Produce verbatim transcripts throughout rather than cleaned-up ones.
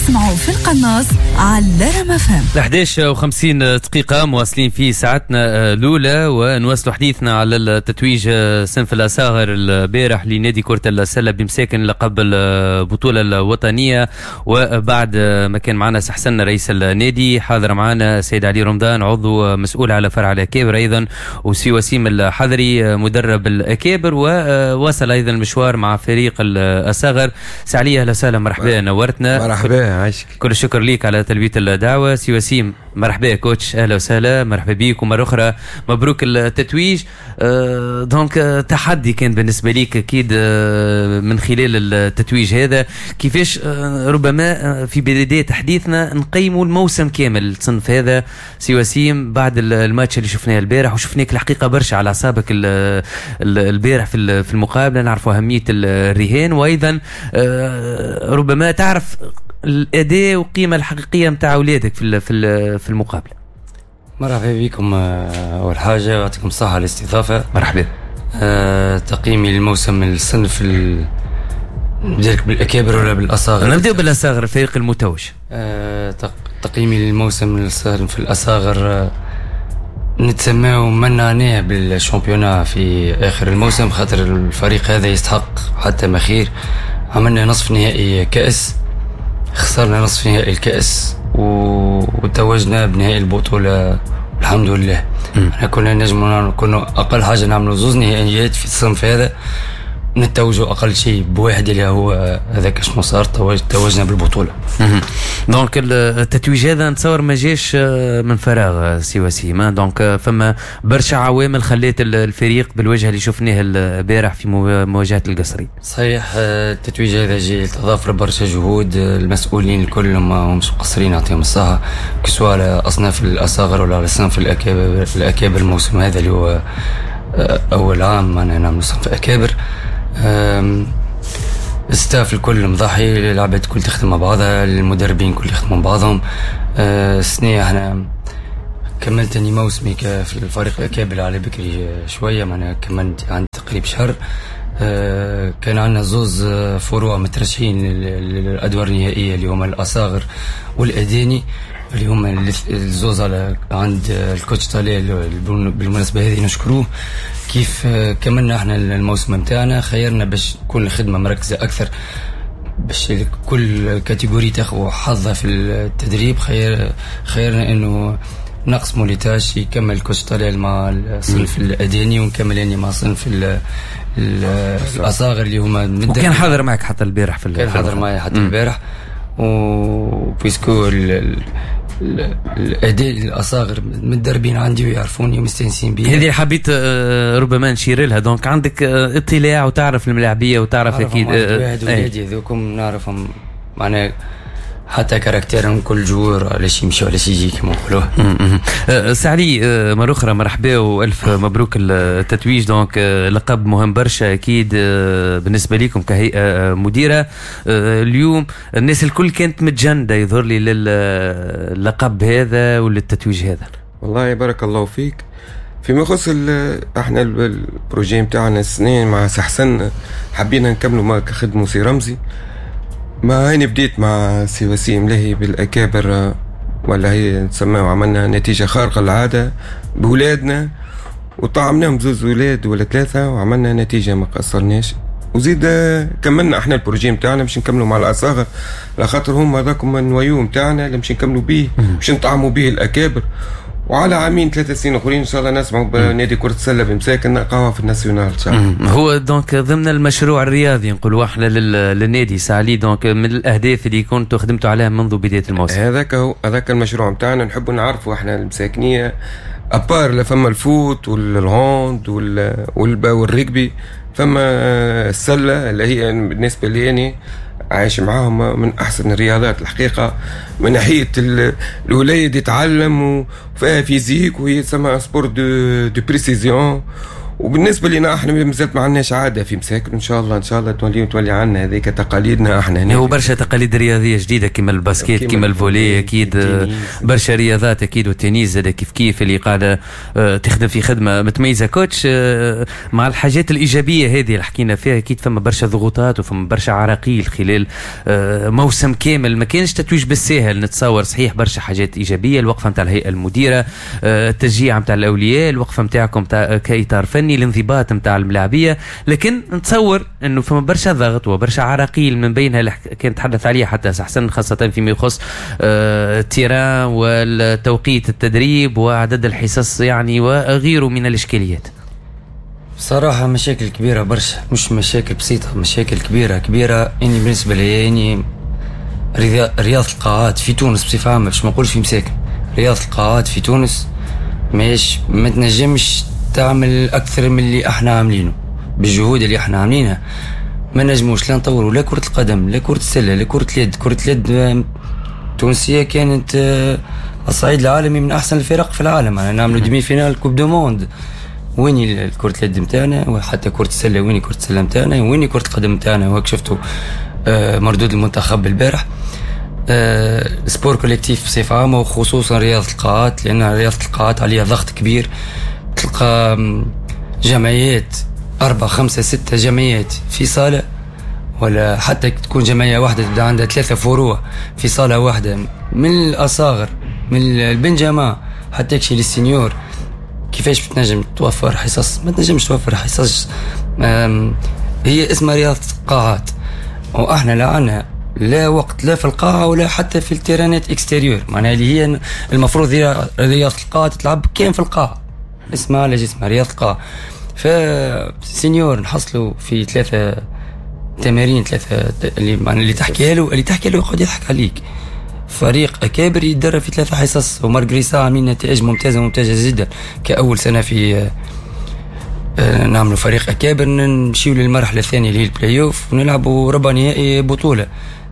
تسمعوا في القناص على رما فهم. إحداش وخمسين دقيقة مواصلين في ساعتنا الأولى، ونواصل حديثنا على التتويج صنف الأصاغر البارح لنادي كرة السلة بمساكن لقب البطولة الوطنية. وبعد ما كان معنا حسن رئيس النادي، حاضر معنا سيد علي رمضان عضو مسؤول على فرع الأكابر أيضا، وسي وسيم الحضري مدرب الأكابر، وواصل أيضا المشوار مع فريق الأصاغر. سي علي أهلا وسهلا، مرحبا، نورتنا. مرحبا، عايشك. كل الشكر ليك على تلبية الدعوة. سي وسيم مرحبا coach، اهلا وسهلا، مرحبا بيك، ومرة أخرى مبروك التتويج. أه donc تحدي كان بالنسبة ليك أكيد أه من خلال التتويج هذا، كيفاش أه ربما في بداية حديثنا نقيموا الموسم كامل الصنف هذا سي وسيم بعد الماتش اللي شفناه البارح، وشفناك الحقيقة برشا على أعصابك البارح في المقابلة، نعرفوا أهمية الرهان، وأيضا أه ربما تعرف الاداء والقيمة الحقيقية نتاع اولادك في في المقابلة. مرحبا بكم، اول حاجة يعطيكم الصحة على الاستضافة. مرحبا. أه تقييمي للموسم الصنف ال... نبدا بالاكابر ولا بالاصاغر؟ نبداو بالاصاغر، الفريق المتوج. أه تقييمي للموسم الصنف الاصاغر، أه نتسماو منعناه بال championnat في اخر الموسم، خاطر الفريق هذا يستحق حتى ما خير. عملنا نصف نهائي كأس، خسرنا نصف نهائي الكأس وتوجنا بنهائي البطولة الحمد لله. احنا كنا نجم كنا أقل حاجة نعملوا زوز نهائيات في الصنف هذا، نتوجوا أقل شيء بواحد اللي هو هذاك شنو صار، توجنا بالبطولة. donc التتويج هذا نتصور ما جاش من فراغ سي وسيم، donc فما برشا عوامل خلات الفريق بالوجه اللي شفناه البارح في مواجهة القصري. صحيح، التتويج هذا جاي تضافر برشا جهود، المسؤولين الكل ما همش مقصرين يعطيهم الصحة، que ce soit على أصناف الأصاغر ولا على صنف الأكابر. الأكابر الموسم هذا اللي هو أول عام معنا نعمل صنف أكابر، ال staff الكل مضحي، العباد الكل تخدم مع بعضها، المدربين الكل يخدموا مع بعضهم. السنة احنا كملت اني موسمي في الفريق الأكابر على بكري شوية، معناها كملت عندي تقريب شهر. كان عندنا زوز فروع مترشحين للأدوار النهائية اللي هما الأصاغر والأداني، اللي هما الزوز على عند ال coach طلال، بالمناسبة هذه نشكروه. كيف كملنا احنا الموسم نتاعنا خيرنا باش تكون الخدمة مركزة أكثر، باش كل catégorie تاخذ حظها في التدريب. خير خيرنا انه نقسموا les tâches، يكمل ال coach طلال مع الصنف الأداني ونكمل اني مع صنف الأصاغر اللي هما. وكان حاضر معك حتى البارح في كان حاضر معي حتى البارح، و puisque الاداء الاصاغر متدربين عندي ويعرفوني ومستانسين بي. هذه حبيت ربما نشير لها، donc عندك اطلاع وتعرف الملاعبيه وتعرف اكيد واحد ولادي هذوكم نعرفهم، معناها حتى caractère هم كل joueur علاش يمشي وعلاش يجي كما نقولوه. سي علي مرة أخرى مرحبا وألف مبروك التتويج، donc لقب مهم برشا أكيد بالنسبة لكم كهيئة مديرة. اليوم الناس الكل كانت متجندة يظهر لي للقب هذا وللتتويج هذا. والله بارك الله فيك. فيما يخص احنا ال projet نتاعنا السنين مع سحسن حبينا نكملوا ما كخدموا سي رمزي، ما هاني بديت مع سي وسيم لهي بالأكابر ولا هي نسميها، وعملنا نتيجة خارقة للعادة بولادنا وطعمناهم بزوز ولاد ولا ثلاثة وعملنا نتيجة ما قصرناش. وزيد كملنا احنا ال projet نتاعنا باش نكملوا مع الأصاغر، على خاطر هما هذاكم ال noyau نتاعنا اللي باش نكملوا بيه باش نطعموا بيه الأكابر، وعلى عامين ثلاثة سنين اخرين ان شاء الله نسمعوا بنادي كرة السلة بمساكن نلقاوها في ال nationale ان شاء الله. هو donc ضمن المشروع الرياضي نقولوا احنا للنادي سي علي، donc من الاهداف اللي كنتوا خدمتوا عليها منذ بداية الموسم. هذاك هو هذاك المشروع نتاعنا، نحبوا نعرفوا احنا المساكنيه à part فما ال foot وال hand وال rugby، فما السلة اللي هي بالنسبة لي يعني عايش معاهم من احسن الرياضات الحقيقة، من ناحية الوليد يتعلم وفيها physique، وهي تسمى sport de de précision، وبالنسبة لنا احنا مازالت ما عندناش عادة في مساكن، ان شاء الله ان شاء الله تولي تولي عندنا هذيك تقاليدنا احنا هنا. هو برشا تقاليد رياضية جديدة كيما ال basket كيما ال volley اكيد، برشا رياضات اكيد، والتنس زاد كيف كيف اللي قاعدة آه، تخدم في خدمة متميزة. coach، آه، مع الحاجات الايجابية هذه اللي حكينا فيها اكيد فما برشا ضغوطات وفما برشا عراقيل خلال آه، موسم كامل، ما كانش تتويج بالساهل نتصور. صحيح برشا حاجات ايجابية، الوقفة نتاع الهيئة المديرة، التشجيع نتاع الاولياء، الوقفة نتاعكم كاطار فني، الانضباط نتاع الملاعبيه، لكن نتصور انه فما برشا ضغط وبرشا عراقيل من بينها اللي كان تحدث عليها حتى حسن، خاصة فيما يخص آه، ال terrain والتوقيت التدريب وعدد الحصص يعني وغيره من الاشكاليات. صراحة مشاكل كبيرة برشا، مش مشاكل بسيطة، مشاكل كبيرة كبيرة. اني بالنسبة لي يعني رياضة القاعات في تونس بصفة عامة، باش ما نقولش في مساكن، رياضة القاعات في تونس ماهيش ما تنجمش تعمل اكثر من اللي احنا عاملينه بالجهود اللي احنا عاملينها. ما نجموش لا نطوروا لا كرة القدم لا كرة السلة لا كرة اليد. كرة اليد التونسية كانت آه، على الصعيد العالمي من احسن الفرق في العالم، يعني نعملوا demi-finale coupe du monde. وين كرة اليد نتاعنا؟ وحتى كرة السلة وين كرة السلة نتاعنا؟ وين كرة القدم نتاعنا؟ وهاك شفتوا آه، مردود المنتخب البارح. آه، sport collectif بصفة عامة وخصوصا رياضة القاعات، لأن رياضة القاعات عليها ضغط كبير. تلقى جمعيات أربعة خمسة ستة جمعيات في صالة، ولا حتى تكون جمعية واحدة تبدا عندها ثلاثة فروع في صالة واحدة، من الأصاغر من ال benjamin حتى يكشي لل senior. كيفاش بتنجم توفر حصص؟ ما تنجمش توفر حصص. هي اسمها رياضة قاعات، واحنا لا عنا لا وقت لا في القاعة ولا حتى في ال terrain ات extérieur، معناها اللي هي المفروض هي رياضة القاعة تلعب كان في القاعة، اسمها على جسمها رياضة القاعة. ف senior نحصلوا في ثلاثة تمارين، ثلاثة اللي معناها اللي تحكي له اللي تحكي له يقعد يضحك عليك. فريق اكابر يتدرب في ثلاثة حصص، و malgré ça عاملين نتائج ممتازة ممتازة جدا. كاول سنة في آه، نعملوا فريق اكابر نمشيو للمرحلة الثانية اللي هي البلاي اوف ونلعبوا ربع نهائي بطوله،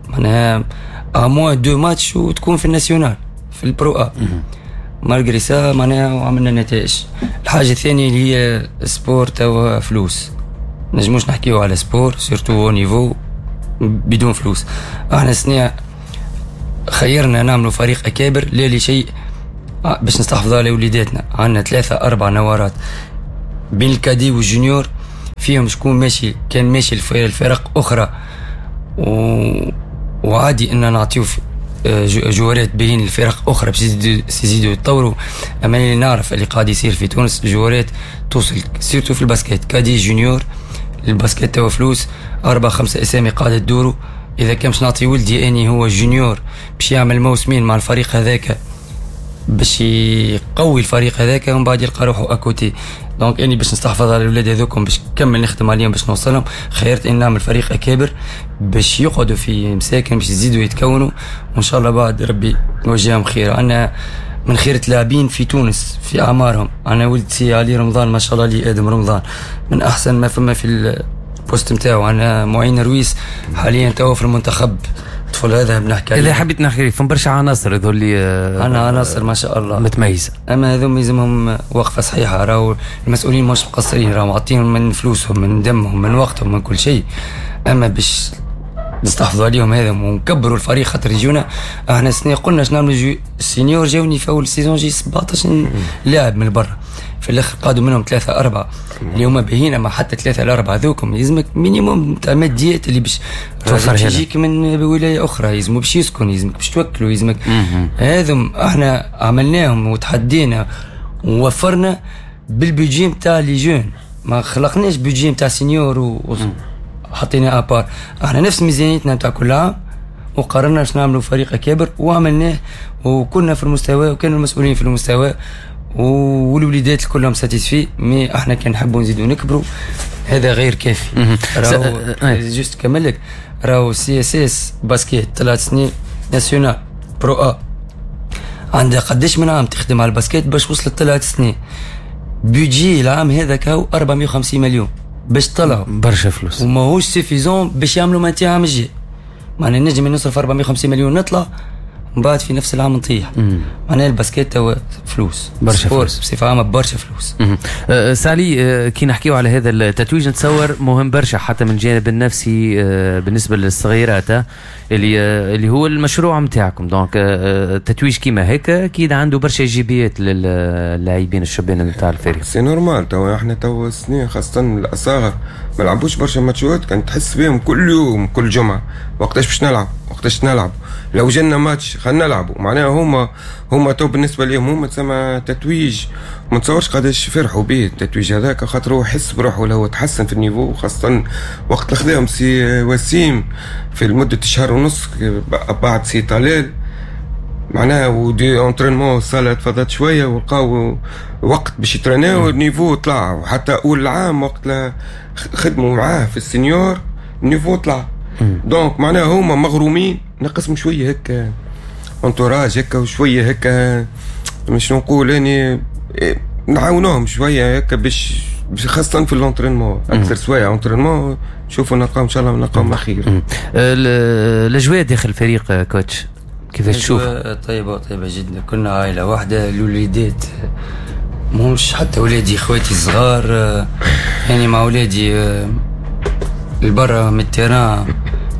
معناها à moins deux matchs وتكون في ال national في ال pro A. malgré ça معناها وعملنا نتائج. الحاجة الثانية اللي هي sport توا فلوس، نجموش نحكيو على sport surtout niveau بدون فلوس. احنا سنة خيرنا نعملوا فريق اكابر لا لشيء آه، باش نستحفظوا على وليداتنا. عندنا ثلاثة أربع نوارات بين ال cadets وال juniors، فيهم شكون ماشي كان ماشي الفرق أخرى و... وعادي ان نعطيو آه، joueur ات باهين الفرق اخرى باش يزيدوا يتطوروا. اما اللي نعرف اللي قاعد يصير في تونس، joueur ات توصل surtout في ال basket cadet junior، ال basket توا فلوس، اربع خمسة اسامي قاعدة تدوروا. اذا كان باش نعطي ولدي اني هو junior باش يعمل موسمين مع الفريق هذاك باش يقوي الفريق هذاك ومن بعد يلقى روحه à côté. donc اني باش نستحفظ على الاولاد هذوكم باش نكمل نخدم عليهم باش نوصلهم، خيرت اني نعمل فريق اكابر باش يقعدوا في مساكن باش يزيدوا يتكونوا، وان شاء الله بعد ربي يوجههم خير. عندنا من خيرة لاعبين في تونس في اعمارهم، انا ولد سي علي رمضان ما شاء الله لي ادم رمضان من احسن ما فما في ال poste نتاعو. عندنا معين رويس حاليا توا في المنتخب، الطفل هذا بنحكي عليه. اذا حبيت نحكي فما برشا عناصر هذول اللي عندنا عناصر ما شاء الله متميزة، اما هذوم يلزمهم وقفه صحيحه. راهو المسؤولين مش مقصرين، راهو عاطيهم من فلوسهم من دمهم من وقتهم من كل شيء، اما باش نستحفظوا عليهم هذا ونكبروا الفريق خاطر يجونا. احنا السنة قلنا باش نعملوا ال senior، جاوني في اول saison جي سبعطاش لاعب من برا، في الاخر قادوا منهم ثلاثة اربعة اللي هما باهيين، اما حتى ثلاثة الاربعة هذوكم يلزمك minimum تاع ماديات اللي باش يجيك من ولاية اخرى، يلزمو باش يسكن، يلزمك باش توكلوا، يلزمك هذم احنا عملناهم وتحدينا ووفرنا بال budget نتاع les jeunes، ما خلقناش budget نتاع senior و حطينا à part. احنا نفس ميزانيتنا نتاع كل عام وقررنا باش نعملوا فريق اكابر وعملناه، وكنا في المستوى وكانوا المسؤولين في المستوى والوليدات كلهم satisfaits. mais احنا كان نحبوا نزيدوا نكبروا هذا غير كافي. راهو juste كمل لك، راهو CSS basket ثلاث سنين national pro A، عندها قداش من عام تخدم على ال basket باش وصلت ثلاث سنين. budget العام هذا كاو أربعمية وخمسين مليون باش طلعوا برشا فلوس، وماهوش suffisant باش يعملوا maintien عام الجاي. معناها نجم نصرف أربعمية وخمسين مليون نطلع من بعد في نفس العام نطيح. معناها ال basket توا فلوس برشا، فلوس بصفة عامة برشا فلوس. أه سالي، أه كي نحكيو على هذا التتويج نتصور مهم برشا حتى من الجانب النفسي أه بالنسبة للصغيرات اللي أه اللي هو المشروع نتاعكم. donc التتويج كيما هيك اكيد عنده برشا ايجابيات للاعبين الشبان نتاع الفريق. c'est normal، توا احنا توا سنين خاصة الاصاغر ما لعبوش برشا ماتشات، كان تحس بهم كل يوم كل جمعه وقتاش باش نلعب وقتاش نلعب، لو جينا ماتش خلينا نلعبوا. معناها هما هما تو بالنسبة لهم هما تسمى تتويج، ما تصورش قداش فرحوا به التتويج هذاك، خاطر هو حس بروحه هو تحسن في ال niveau، خاصة وقت اللي خذاهم سي وسيم في لمدة شهر ونص بعد سي طلال، معناها و des entraînements الصاله تفضلت شوية ولقاو وقت باش يتريناو، ال niveau طلع. وحتى اول العام وقت خدموا معاه في ال senior ال niveau طلع. donc معناها هما مغرومين، نقسم شوية هكا entourage هكا وشوية هكا مش نقول يعني نعاونوهم شوية هكا باش خاصة في l'entraînement اكثر سوايع entraînement نشوفوا نلقاو ان شاء الله نلقاو خير. الاجواء داخل الفريق coach كيفاش تشوف؟ طيبة طيبة جدا، كنا عائلة واحدة، الوليدات مش حتى ولادي خواتي الصغار يعني مع ولادي البرا من ال terrain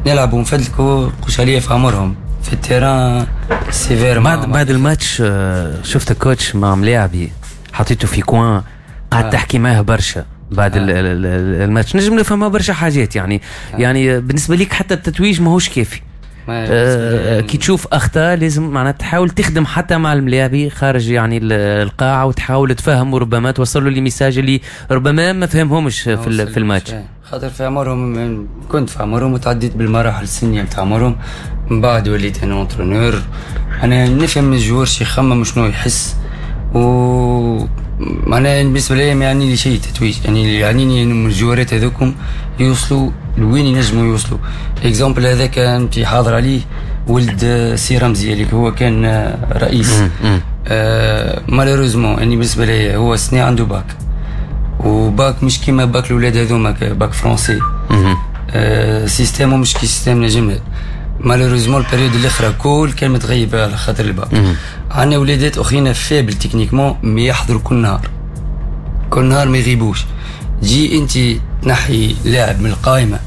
نلعبوا ونفدلكوا قش عليا في عمرهم في ال terrain sévère. بعد بعد الماتش شفت coach مع ملاعبي حطيته في coin قعدت آه. تحكي معاه برشا بعد آه. الماتش، نجم نفهمها برشا حاجات يعني آه. يعني بالنسبة ليك حتى التتويج ماهوش كافي. آه كي تشوف اخطاء لازم معناتها تحاول تخدم حتى مع الملاعبي خارج يعني القاعة وتحاول تفهم وربما توصل له les messages اللي ربما ما فهمهمش في, في الماتش. خاطر في عمرهم كنت في عمرهم وتعديت بالمراحل السنية نتاع عمرهم، من بعد وليت انا entraîneur، انا نفهم ال joueur شي يخمم شنو يحس، و معناها بالنسبة لي ما يعني لي شيء تتويج، يعني يعنيني انه الجوارات هذوكم يوصلوا لوين ينجموا يوصلوا. exemple هذاك انت حاضر عليه ولد سي رمزي اللي هو كان رئيس، آه malheureusement يعني بالنسبة لي هو سنة عنده bac، و bac مش كيما باك الاولاد هذوما bac français، آه système مش كي système نجم. malheureusement ال période الاخرى كل كان متغيب على خاطر الباك. عندنا ولادات اخرين faibles techniquement mais يحضروا كل نهار، كل نهار ما يغيبوش. تجي انت تنحي لاعب من القائمة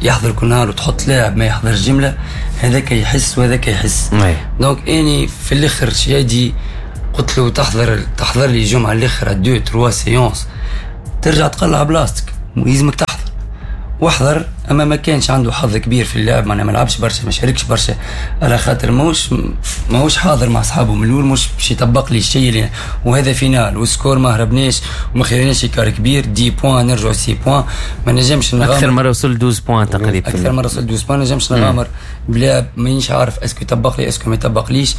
يحضر كل نهار وتحط لاعب ما يحضرش جملة، هذاك يحس وهذاك يحس. donc اني في الاخر شادي قلت له تحضر تحضر لي الجمعة الاخرى deux trois séances، ترجع تقلع بلاصتك ويلزمك تحضر. واحضر، اما ما كانش عنده حظ كبير في اللعب، معناها ما لعبش برشا ما شاركش برشا على خاطر ماهوش ماهوش حاضر مع اصحابه من الاول، مش باش يطبق لي الشيء اللي وهذا finale وال score ما هربناش وما خليناش écart كبير dix points نرجعوا six points، ما نجمش نغامر. اكثر مرة وصل اثنا عشر points تقريبا، اكثر مرة وصل اثنا عشر points، ما نجمش نغامر بلاعب مانيش عارف est-ce que يطبق لي est-ce que ما يطبقليش.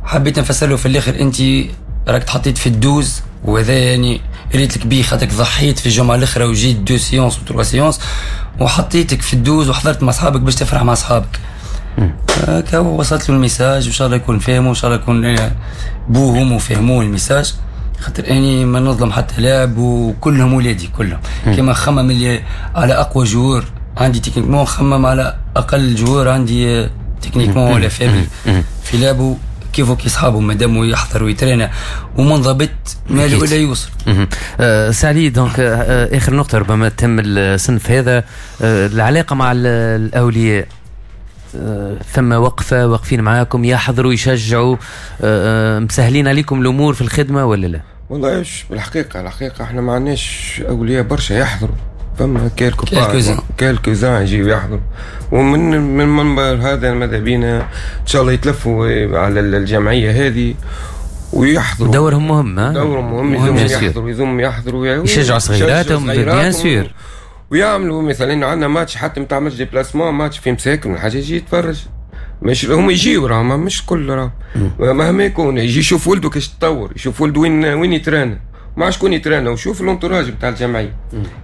حبيت نفسر له في الاخر انت راك تحطيت في ال douze، وهذا يعني ريت لك بيه خاطرك ضحيت في الجمعة الاخرى وجيت deux séances و trois séances وحطيتك في ال douze وحضرت مع اصحابك باش تفرح مع اصحابك. هكا وصلت له ال message وان شاء الله يكون فاهمه وان شاء الله يكون بوهم وفهموه ال message، خاطر اني ما نظلم حتى لاعب وكلهم ولادي كلهم. كما خمم اللي على اقوى joueur عندي techniquement، خمم على اقل joueur عندي techniquement ولا faible في لعبه كيفو كي صحابه مادام يحضر ويترينا ومنضبط ماله ولا يوصل. أه سعلي donc آه اخر نقطة ربما تهم الصنف هذا، آه العلاقة مع الاولياء، آه ثم وقفه واقفين معاكم يحضروا يشجعوا، آه مسهلين عليكم الامور في الخدمة ولا لا؟ والله ايش بالحقيقة الحقيقة احنا ما عندناش اولياء برشا يحضروا، فما quelques quelques-uns يجيو يحضروا، ومن من المنبر هذا ماذا بينا ان شاء الله يتلفوا على الجمعية هذه ويحضروا. دورهم مهم، ها؟ دورهم مهم، يلزمهم يحضروا، يلزمهم يحضروا يشجعوا صغيراتهم bien sûr، ويعملوا مثلا عندنا ماتش حتى نتاع match déplacement، match في مساكن ولا حاجة يجي يتفرج، مش هم يجيو راهم مش كل راهم مهما يكون يجي يشوف ولده كيفاش تطور، يشوف ولده وين وين يترانا مع شكون يترانا، وشوف l'entourage نتاع الجمعية،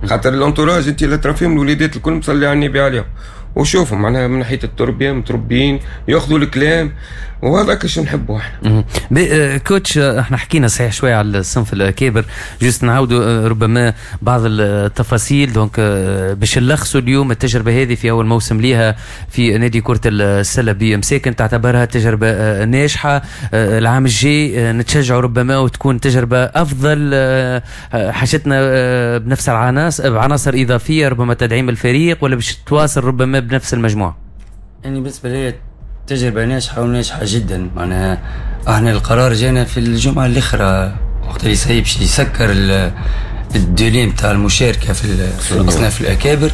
خاطر l'entourage انت اللي ترى فيهم الوليدات الكل مصلي على النبي عليهم، وشوفوا معناها من ناحية التربية متربيين ياخذوا الكلام، وهذاك شو نحبوا احنا. coach، احنا حكينا صحيح شوية على الصنف الاكابر، juste نعاودوا ربما بعض التفاصيل donc باش نلخصوا اليوم التجربة هذه في اول موسم ليها في نادي كره السلة بمساكن، تعتبرها تجربه ناجحة. العام الجاي نتشجعوا ربما وتكون تجربه افضل، حاجتنا بنفس العناصر، بعناصر اضافية ربما تدعيم الفريق، ولا باش تواصل ربما بنفس المجموعة؟ يعني بالنسبة لي تجربة ناجحة وناجحة جدا. معناها احنا القرار جانا في الجمعة الأخرى وقت اللي سايب باش يسكر ال délai نتاع المشاركة في, في الأصناف الأكابر.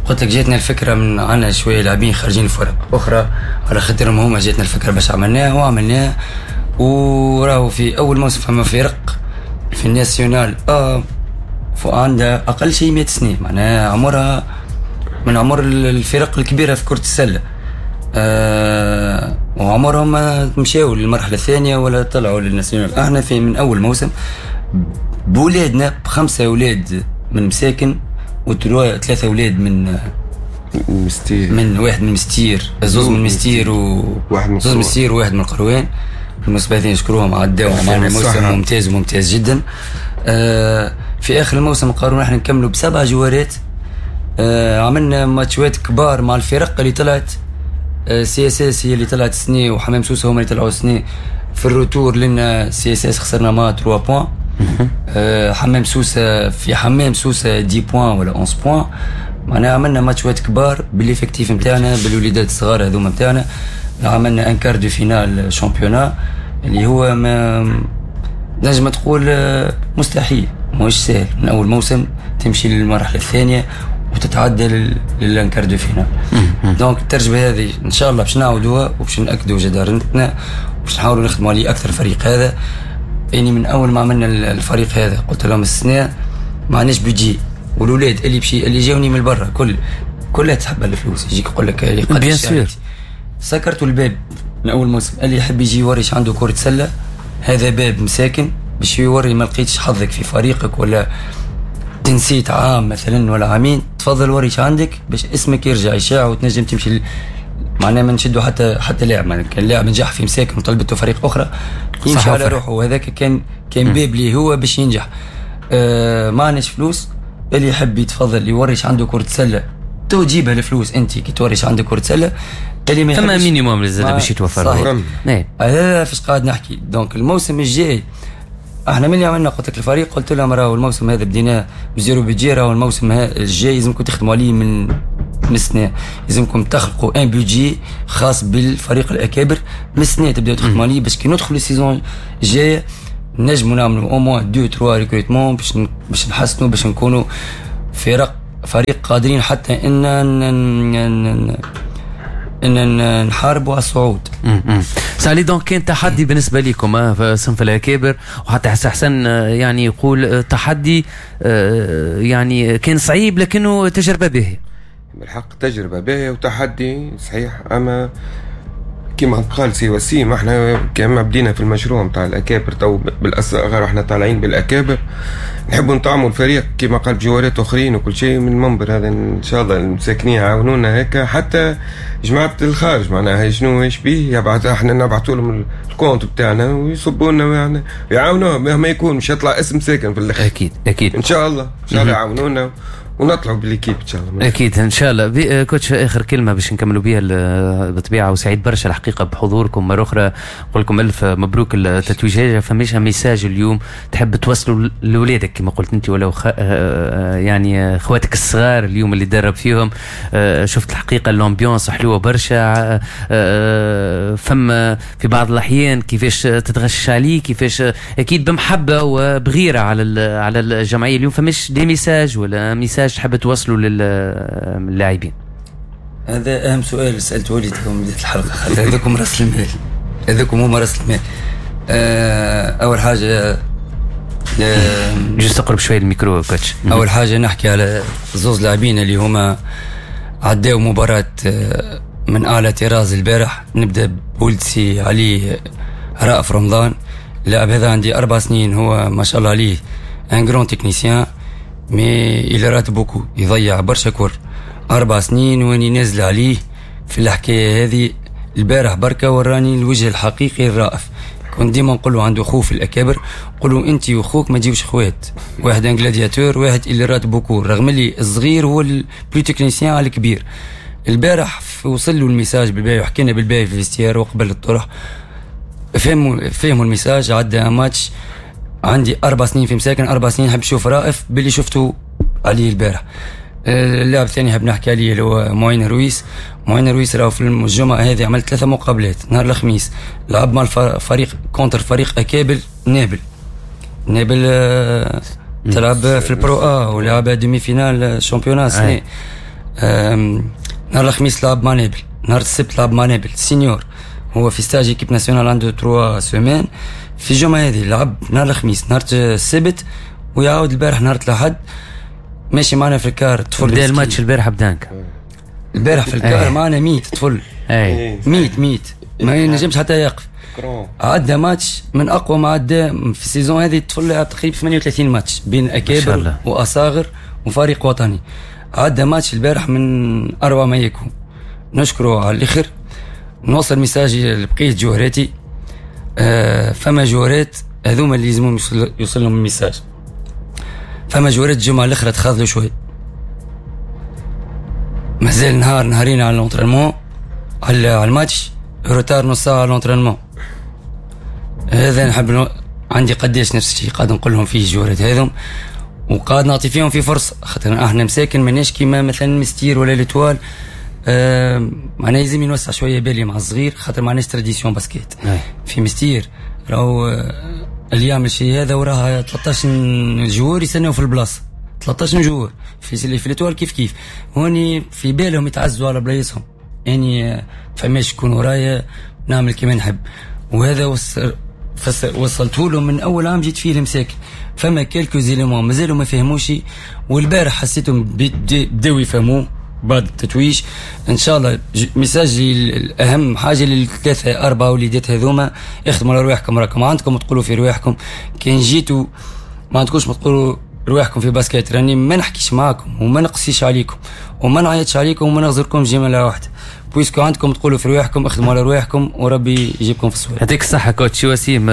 قلت لك جاتنا الفكرة من عندنا شوية لاعبين خارجين الفرق أخرى، على خاطرهم هما جاتنا الفكرة باش عملناها وعملناها. وراهو في أول موسم فما فرق في ال nationale آه عندها أقل شيء مئة سنة، معناها عمرها من عمر الفرق الكبيرة في كرة السلة، أه وعمرهم ما مشاو للمرحلة الثانية ولا طلعوا لل nationale. احنا في من أول موسم بولادنا بخمسة أولاد من مساكن وثلاثة أولاد من مستير، من واحد من مستير، زوز من مستير و واحد من زوز من مستير وواحد من القروان. بالنسبة لي نشكروهم عداو معنا موسم ممتاز وممتاز جدا. أه في آخر الموسم قررنا احنا نكملوا بسبع جوارات. أه عملنا ماتشات كبار مع الفرق اللي طلعت، CSS هي اللي طلعت سنة وحمام سوسة هما اللي طلعوا سنة. في ال retour لنا CSS خسرنا ما ثلاثة points، أه حمام سوسة في حمام سوسة عشرة points ولا إحداش points. معناها عملنا ماتشات كبار بال effectif نتاعنا، بالوليدات الصغار هذوما نتاعنا. عملنا un quart de finale championnat اللي هو ما نجم تقول مستحيل، ماهوش سهل من اول موسم تمشي للمرحلة الثانية وتتعدى لل quart de finale. donc التجربة هذه ان شاء الله باش نعاودوها وباش ناكدوا جدارتنا وباش نحاولوا نخدموا عليه اكثر. الفريق هذا يعني من اول ما عملنا الفريق هذا قلت لهم السنة ما عندناش budget، والولاد اللي بشي اللي جاوني من برا كل كلها تحب الفلوس، يجيك يقول لك bien sûr. سكرتوا الباب من اول موسم، اللي يحب يجي يوريش عنده كره سله هذا باب مساكن باش يوري، ما لقيتش حظك في فريقك ولا تنسيت عام مثلا ولا عامين، تفضل وريش عندك باش اسمك يرجع يشاع وتنجم تمشي ل... معناها ما نشدوا حتى حتى لاعب، معناها كان لاعب نجح في مساكن وطلبته فريق اخرى يمشي على روحه، وهذاك كان كان باب ليه هو باش ينجح. آه ما عندناش فلوس، اللي يحب يتفضل يوريش عنده كرة سلة تو تجيبها الفلوس انت كي توريش عندك كرة سلة. اللي ما ثم minimum لازم باش يتوفر. هذا فاش قاعد نحكي. donc الموسم الجاي احنا من اللي عملنا قلت لك الفريق قلت لهم راهو الموسم هذا بديناه ب zéro budget، راهو الموسم الجاي لازمكم تخدموا عليه من من السنة، لازمكم تخلقوا un budget خاص بالفريق الاكابر من السنة تبداو تخدموا عليه باش كي ندخلوا ال saison الجاية نجموا نعملوا au moins deux trois recrutements باش باش نحسنوا باش نكونوا فرق فريق قادرين حتى ان ان نحاربوا على الصعود. سالي donc كان تحدي بالنسبة لكم في صنف الاكابر، وحتى حسن يعني يقول تحدي يعني كان صعيب لكنه تجربه باهيه. بالحق تجربه باهيه وتحدي صحيح، اما كما قال سي وسيم احنا كما بدينا في المشروع نتاع الاكابر تو بالاصغر احنا طالعين بالاكابر، نحبوا نطعموا الفريق كما قال بجوارات اخرين وكل شيء من المنبر هذا ان شاء الله المساكنين يعاونونا هكا، حتى جماعة الخارج معناها شنو ايش بيه يبعث، احنا نبعثوا لهم ال compte بتاعنا ويصبوا لنا يعني يعاونونا مهما يكون، مش يطلع اسم ساكن في الاخر. اكيد اكيد ان شاء الله ان شاء الله يعاونونا ونطلعوا بال équipe ان شاء الله. اكيد ان شاء الله. coach اخر كلمة باش نكملوا بها بالطبيعة، وسعيد برشا الحقيقة بحضوركم مرة اخرى، نقول لكم الف مبروك التتويج. فماش message اليوم تحب توصلوا لاولادك كما قلت انت ولا خ... يعني اخواتك الصغار اليوم اللي درب فيهم؟ شفت الحقيقة l'ambiance حلوة برشا، فما في بعض الاحيان كيفاش تتغشش عليه، كيفاش اكيد بمحبة وبغيره على على الجمعية اليوم، فماش des messages ولا message تحب توصلوا للاعبين؟ هذا اهم سؤال سالته لي تو بداية الحلقة، خاطر هذوكم راس المال، هذوكم هما راس المال. آه اول حاجة juste تقرب شوية ال micro coach. اول حاجة نحكي على زوز لاعبين اللي هما عداو مباراة من اعلى طراز البارح. نبدا بولد سي علي رأف رمضان، اللاعب هذا عندي اربع سنين، هو ما شاء الله عليه un grand technicien mais il rate beaucoup، يضيع برشا كور. اربع سنين واني نازل عليه في الحكاية هذه. البارح بركة وراني الوجه الحقيقي الرائف. كنت ديما نقول له عنده خوف الاكابر، نقول له انت وخوك ما تجيوش خوات، واحد un gladiateur واحد اللي rate beaucoup، رغم اللي الصغير هو ال plus technicien على الكبير. البارح وصل له ال message بالباهي وحكينا بالباهي في ال vestiaire وقبل الطرح، فهموا فهموا ال message. عدى ماتش عندي اربع سنين في مساكن، اربع سنين نحب نشوف رائف باللي شفته عليه البارح. اللاعب الثاني حاب نحكي عليه اللي هو معين رويس. معين رويس راهو في الجمعة هذه عمل ثلاثة مقابلات. نهار الخميس لعب مع الفريق contre فريق اكابل نابل. نابل تلعب في ال Pro A ولعب demi-finale championnat سنة. نهار الخميس لعب مع نابل، نهار السبت لعب مع نابل senior، هو في stage équipe nationale عنده trois semaines. في الجمعة هذه لعب نهار الخميس نهار السبت ويعاود البارح نهار الاحد ماشي معنا في ال car طفل. بدا الماتش البارح ب dunk. البارح في ال car معنا ميت طفل، ميت ميت ما ينجمش حتى يقف. عدى ماتش من اقوى ما عدى في ال saison هذه. الطفل لعب تقريبا ثمانية وثلاثين ماتش بين اكابر واصاغر وفريق وطني. عدى ماتش البارح من اروع ما يكون، نشكره على الاخر. نوصل message لبقية جوهراتي. آه فما جوهرات هذوما اللي لازمهم يوصل لهم ال message. فما جوارات الجمعة الاخرى تخاذلوا شوي، مازال نهار نهارين على l'entraînement على ال match، retard نص ساعة على l'entraînement. هذا نحب نو... عندي قداش نفس الشيء قاعد نقول لهم فيه الجوارات هذم، وقاعد نعطي فيهم في فرصة، خاطر احنا مساكن ماناش كيما مثلا مستير ولا l'Étoile. آه معناها لازم نوسع شوية بالي مع الصغير، خاطر معناش tradition basket في مستير. راهو آه اللي يعمل شيء هذا وراه ثلاثة عشر joueur يستناو في البلاصة، ثلاثة عشر joueur في في l'Étoile كيف كيف. هوني في بالهم يتعزوا على بلايصهم، يعني فماش يكون ورايا نعمل كيما نحب. وهذا وصل وصلته لهم من اول عام جيت فيه المساكن. فما quelques éléments مازالوا ما فهموش، والبارح حسيتهم بداو يفهموه بعد التتويج. ان شاء الله message الاهم حاجة للثلاثه اربعة وليدات هذوما، اخدموا على رواحكم، راكم عندكم تقولوا في رواحكم. كان جيتوا ما عندكوش ما تقولوا رواحكم في basket، راني ما نحكيش معاكم وما نقصيش عليكم وما نعيطش عليكم وما نغزركم جملة واحدة، puisque عندكم تقولوا في رواحكم، اخدموا على رواحكم وربي يجيبكم في الصواب. يعطيك الصحة coach وسيم.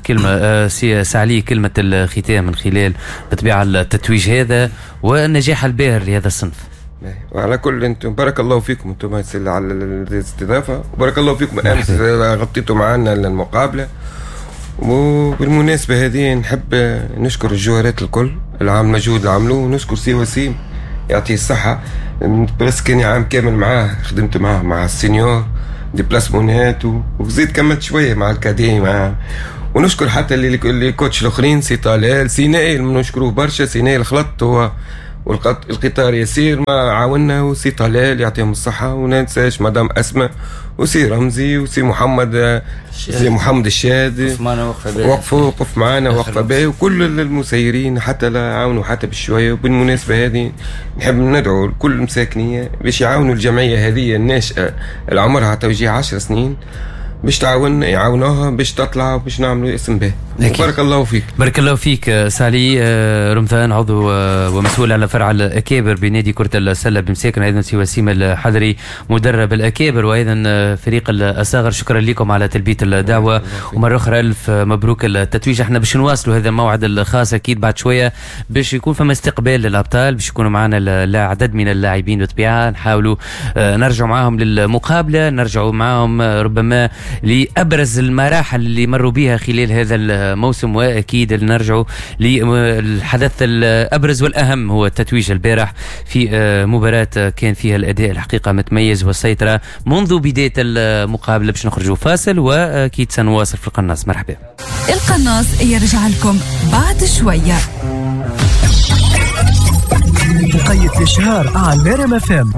كلمة سي سعلي، كلمة الختام من خلال بالطبيعة التتويج هذا والنجاح الباهر لهذا الصنف. وعلى كل انتم بارك الله فيكم انتم على الاستضافة، وبارك الله فيكم امس غطيتوا معنا المقابلة. وبالمناسبة هذه نحب نشكر الجوارات الكل العام المجهود اللي عملوه، ونشكر سي وسيم يعطيه الصحة، بس كان عام كامل معاه، خدمت معاه مع ال seniors déplacement ات وزيد كملت شوية مع ال cadets مع، ونشكر حتى اللي les coachs الاخرين، سي طلال سي نائل نشكروه برشا، سي نائل خلط هو والقطار يسير ما عاونا، وسي طلال يعطيهم الصحة، وما ننساش مدام أسماء وسي رمزي وسي محمد سي محمد الشاد وقفوا وقف معنا وقفة باهي، وكل المسيرين حتى لا عاونوا حتى بالشوية. وبالمناسبة هذه نحب ندعو كل المساكنية باش يعاونوا الجمعية هذه الناشئة اللي عمرها توجيه عشر سنين باش تعاون يعاونوها باش تطلع وباش نعملوا اسم به. بارك الله فيك. بارك الله فيك سالي رمضان، عضو ومسؤول على فرع الاكابر بنادي كرة السلة بمساكن، ايضا سي وسيم الحضري مدرب الاكابر وايضا فريق الأصاغر. شكرا لكم على تلبية الدعوة، ومرة أخرى ألف مبروك التتويج. احنا باش نواصلوا هذا الموعد الخاص أكيد بعد شوية باش يكون فما استقبال للأبطال، باش يكونوا معنا عدد من اللاعبين بالطبيعة، نحاولوا نرجعوا معاهم للمقابلة، نرجعوا معاهم ربما لأبرز المراحل اللي مروا بها خلال هذا الموسم، وأكيد نرجعوا للحدث الأبرز والأهم هو التتويج البارح في مباراة كان فيها الأداء الحقيقة متميز والسيطرة منذ بداية المقابلة. باش نخرجوا فاصل وأكيد سنواصل في القناص. مرحبا. القناص يرجع لكم بعد شوية. وقيت الإشهار على نرم اف ام.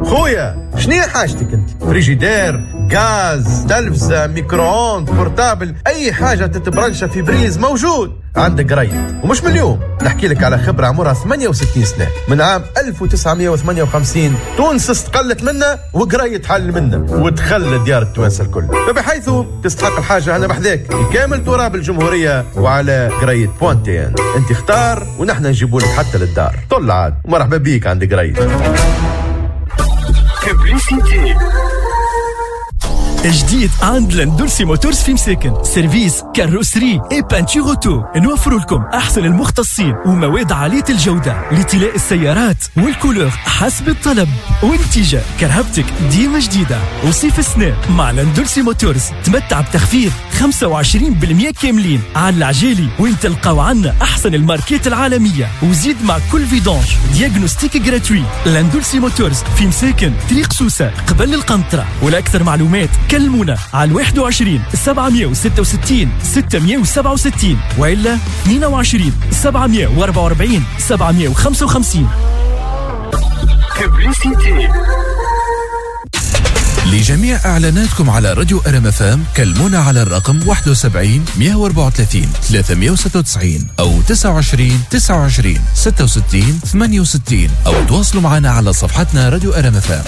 خويا شنو حاجتك انت؟ فريجيدير، غاز، تلفزة، micro-ondes، portable، أي حاجة تتبرنشة في prise موجود عند قريد. ومش من اليوم نحكي لك على خبرة عمرها ثمانية وستين سنة، من عام ألف وتسعمية وثمانية وخمسين تونس استقلت منا وقريد حل منا ودخل ديار التوانسة الكل، فبحيث تستحق الحاجة أنا بحذاك في كامل تراب الجمهورية وعلى قريد point tn. انت اختار ونحن نجيبوا لك حتى للدار. طل عاد ومرحبا بيك عند قريد. جديد عند لندولسي موتورز في مساكن، service carrosserie et peinture auto. نوفر لكم احسن المختصين ومواد عالية الجودة لطلاء السيارات وال couleur حسب الطلب، ونتيجة كرهبتك ديما جديدة. وصيف السنة مع لندولسي موتورز تمتع بتخفيض خمسة وعشرين بالمية كاملين على العجالي، وين تلقاو عنا احسن الماركات العالمية، وزيد مع كل vidange diagnostic gratuit. لندولسي موتورز في مساكن، طريق سوسة قبل القنطرة. ولاكثر معلومات كلمونا على واحد وعشرين سبعمية وستة وستين ستمية وسبعة وستين وإلا اثنين وعشرين سبعمية وأربعة وأربعين سبعمية وخمسة وخمسين. لجميع إعلاناتكم على راديو أر إم إف إم كلمونا على الرقم واحد وسبعين مية وأربعة وثلاثين ثلاثمية وستة وتسعين أو تسعة وعشرين تسعة وعشرين ستة وستين ثمانية وستين، أو تواصلوا معنا على صفحتنا راديو أر إم إف إم.